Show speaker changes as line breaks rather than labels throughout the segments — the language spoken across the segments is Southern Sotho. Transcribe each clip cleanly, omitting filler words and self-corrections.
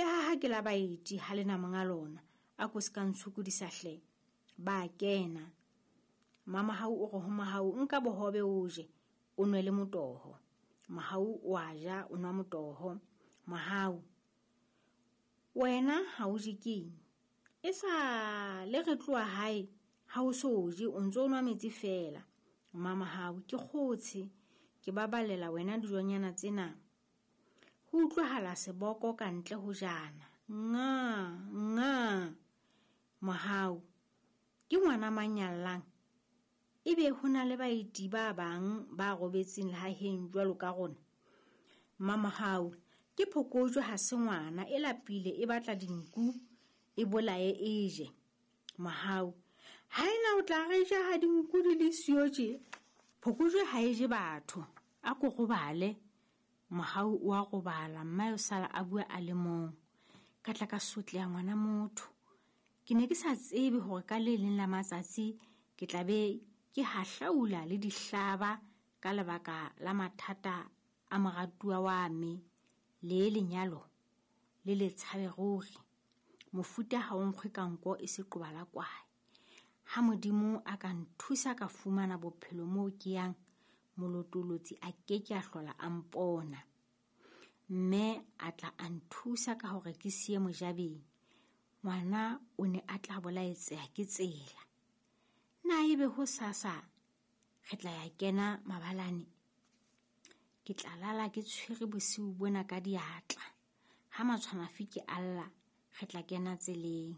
Lehaha ke la baeti ha le na monga lona, a ko se ka ntshokodisa hle. Ba kena. Mamahau o re ho Mohau, nka bohobe o je, o nwe le motoho. Mohau o a ja, o nwa motoho. Mohau, wena ha o je keng? E sa le re tloha hae, ha o so je, o ntse o nwa metsi feela. Mamahau, ke kgotshe, ke babalela wena dijonyana tsena. Ho utlwahala seboko ka ntle ho jana. Nga, nga. Mohau, ke ngwana mang ya llang? Ebe ho na le baeti ba bang ba robetseng lehaheng jwalo ka rona? Mamohau, ke phokojwe ha se ngwana, e lapile e batla dinku, e bolaye e je. Mohau, ha ena o tla re ja ha dinku di le siyo tje? Phokojwe ha e je batho, a ko robale. Mohau o a robala, mmae o sala a bua a le mong. Ka tla ka sotleha ngwana motho. Ke ne ke sa tsebe hore ka le leng la matsatsi ke tla be ke hahlaula le dihlaba ka lebaka la mathata a moratuwa wa me le lenyalo le le tshabe ruri. Mofuta ha o nkgwe ka nko e se qoba la kwae. Ha Modimo a ka nthusa ka fumana bophelo moo ke yang, molotolotsi a ke ke a hlola a mpona. Mme a tla a nthusa ka hore ke siye mojabeng. Ngwana o ne a tla bolaetseha ke tsela. Na ebe ho sasa re tla ya kena mabalane? Ke tla lala ke tshwere bosiu bona ka diatla. Ha matshwanafike a lla, re tla kena tseleng.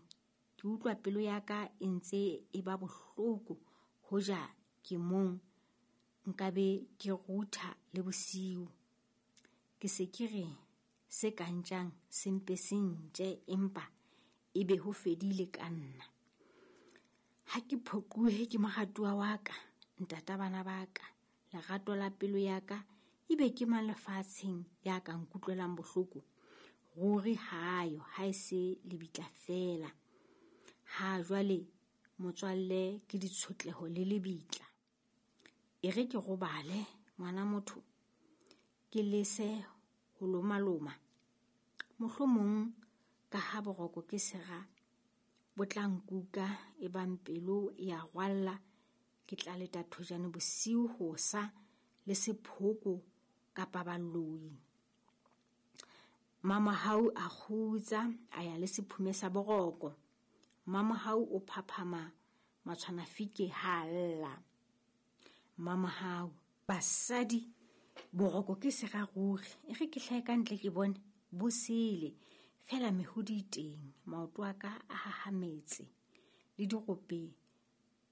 Ke utlwa pelo ya ka e ntse e ba bohloko hoja ke mong nkabe ke rutha le bosiu. Ke se ke re se ka ntjang se mpe se ntje empa ebe ho fedile ka nna. Ha ke phoquhe ke moratuwa wa ka, ntata bana ba ka, lerato la pelo ya ka, ebe ke mang lefatsheng ya ka nkutlwelang bohloko? Ruri hayo, ha e se lebitla feela. Ha jwale motswalle ke ditshotleho le lebitla. E re ke robale ngwana motho, ke lese ho lomaloma. Mohlomong ka ha boroko ke sera bo tla nkuka e bang pelo e a rwalla, ke tla leta thojane bosiu hosa le sephoko kapa baloi. Mamohau a kgutsa a ya le sephume sa boroko. Mamohau o phaphama matshwanafike ha a lla. Mamohau, basadi boroko ke sera ruri, e re ke hlahe ka ntle ke bone bo sele fela mehodi e teng, maoto a ka a hahametse le dirope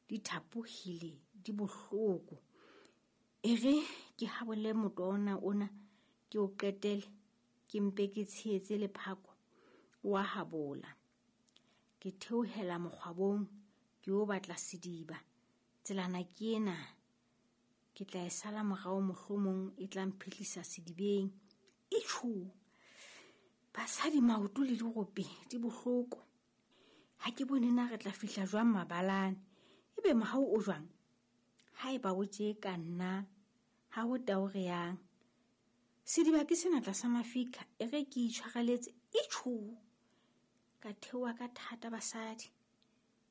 di thapohile di bohloko. E re ke habole moto ona ona ke o qetele, ke mpe ke tshehetse lephako wa habola. Ke theohela mokgwabong ke yo batla sediba. Tselana ke ena, ke tla e sala morao mohlomong e tla mphihlisa sedibeng. Itjhu! Basadi maoto le dirope di bohloko. Ha ke bone na re tla fihla jwang mabalane. Ebe mohau o jwang? Haeba o tje ka nna, ha ho tao re yang. Sediba ke sena tlasa mafika, e re ke itshwareletse. Itjhu! Ka theoha ka thata basadi.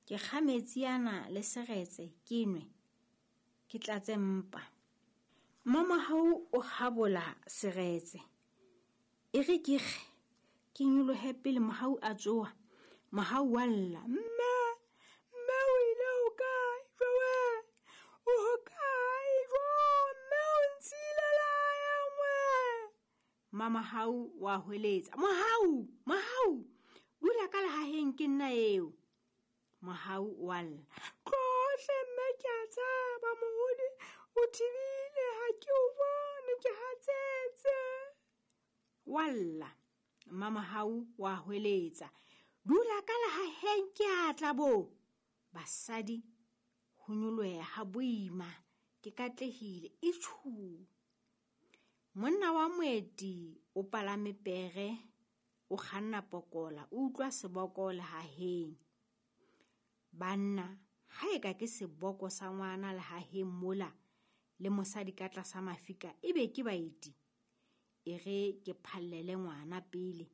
Ke kga metsi ana le seretse ke nwe, ke tlatse mpa. Mmamohau o habola seretse. E re ke kge, ke nyolohe pele Mohau a tsoha. Mohau wa lla, mme, mme o ile hokae? Jowe, o hokae? Jo, mme o ntshile lehaeng we. Mamohau wa hweletsa, Mohau, Mohau, dula ka lehaheng ke nna eo. Mohau wa lla, tlohle mme ke a tshaba mohodi o thibile ha ke o bone ke hatsetse. Wa lla, Mamohau wa hweletsa, dula ka lehaheng ke a tla bo. Basadi ho nyoloha ha boima ke katlehile itjhu. Monna wa moeti o palame pere, o kganna pokola, o utlwa seboko lehaheng. Banna, ha eka ke seboko sa ngwana lehaheng mola le mosadi ka tlasa mafika, ebe ke baeti. E re ke phallele ngwana pele,